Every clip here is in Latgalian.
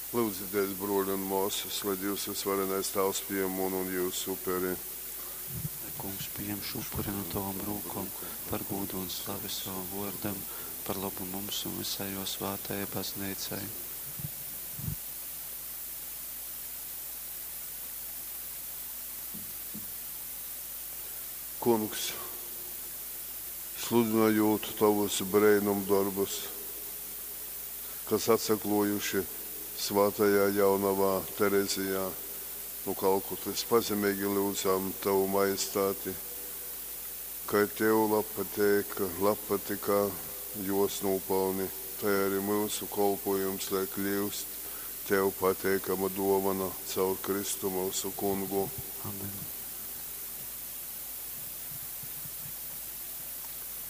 Lyudzitēs, brōli un mōsas, lai Dīvs vysvarenais Tāvs pījem munu un jyusu uperi. Lai Kungs pījam šū upuri nu tovom rūkom par gūdu un slavi sovam vōrdam, par lobu mums un vysai jō svātajai Bazneicai. Kungs, sludynojūt tovus breinumdorbus, kas atsaklōjuši svātajā jaunovā Terezijā nu Kalkutas, pazemeigi lyudzam tovu majestāti, kai tev labpatyka jōs nūpalni, tai ari myusu kolpōjums lai kļyust tev pateikama dōvona caur Kristu myusu Kungu. Amen.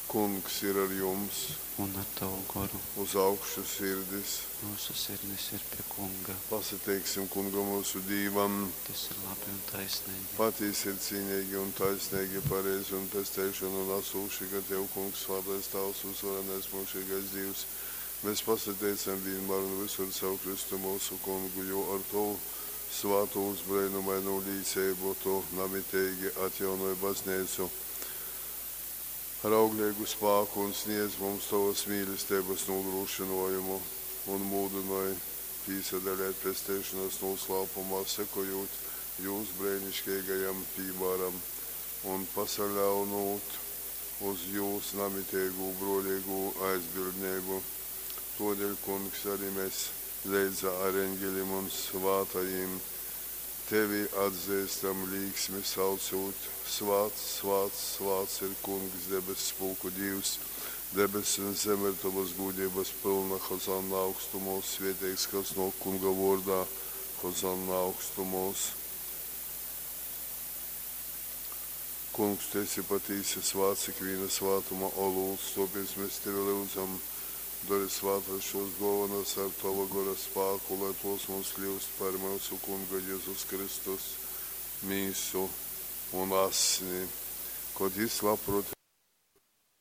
Kungs ir ar jums, Un ar tavu goru. uz augšu sirdis. Myusu sirdis ir pie Kunga. Pasateiksim Kungam myusu Dīvam. Tas ir labi un taisnīgi. Patīsi ir cīnīgi un taisnīgi, pareizi un pesteišonu nasūši, ka Tev, Kungs, svātais Tāvs, uzvarenais mūžīgais Dīvs, mēs pasateicam vienmēr un visur caur Kristu mūsu Kungu, jo ar Tavu svātūs breinumainū līceibu Tu namiteigi atjaunoj baznīcu ar augleigu spāku un sniedz mums Tovas mīlestības nūdrošinājumu un mūdinoj pīsadalēt pesteišanas nūslāpumā, sekojot jūs breiniškeigajam pīmāram un pasaļaunūt uz jūs namiteigū brōleigū aizbildneibu. Tōdēļ, Kungs, arī mēs leidzā ar eņģelim un svātajim tevi atzīstam līksmi saucot: Svāts, svāts, svāts ir Kungs, debess pulku Dīvs, debess un zeme ir tavas gūdības pilna, Hozanna augstumos, svētīgs, kas nāk Kunga vārdā, Hozanna augstumos. Kungs, tu esi patīsi svāts ikviena svātuma olūts, tāpēc mēs tevi lūdzam, dari svātas šos dāvanas ar tava gara spāku, lai tos mums kļūst par mūsu Kunga Jēzus Kristus mīsu un asni, kad jis labprāt